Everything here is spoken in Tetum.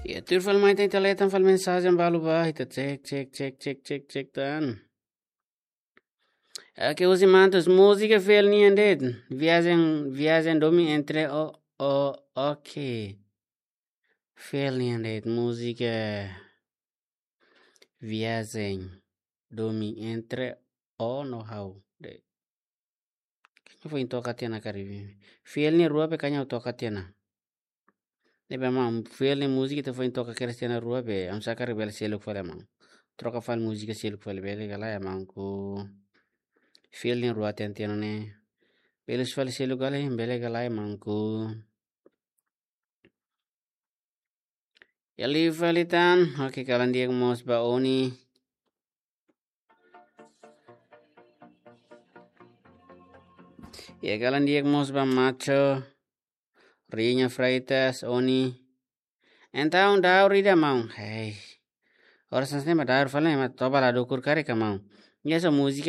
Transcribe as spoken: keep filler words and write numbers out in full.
Ya, tuir fali mai ita leten fali mensajen balu ba, ita cek, cek, cek, cek, cek, cek tan. Oke, Uzi Mantos, múzika fiel nian de'it. Viajen, viajen domin entre o, o, oke. Fiel nian de'it, múzika viajen domin entre o no ha'u de'it. Kaña foin toka tiha ona karik. Fiel nia rua be kaña toka tiha ona. Ne'ebé maun, fiel nia múzika ita foin toka kedas tiha ona rua be, oinsá karik bele seluk fali maun. Troka fali múzika seluk fali bele ka lae maun ku. Fiel nia rua tiha ona tiha ona ne'e. Bele fali seluk ka lae, bele ka lae maun ku. Ya liu fali tan, oke, kalan di'ak mós ba Oni. Ya kalan di'ak mós ba Macho, Riña Freitas, Oni. Entaun daur ida maun. Hei. Oras ne'e mak daur fali mak toba la dukur karik ka maun. Ya só múzika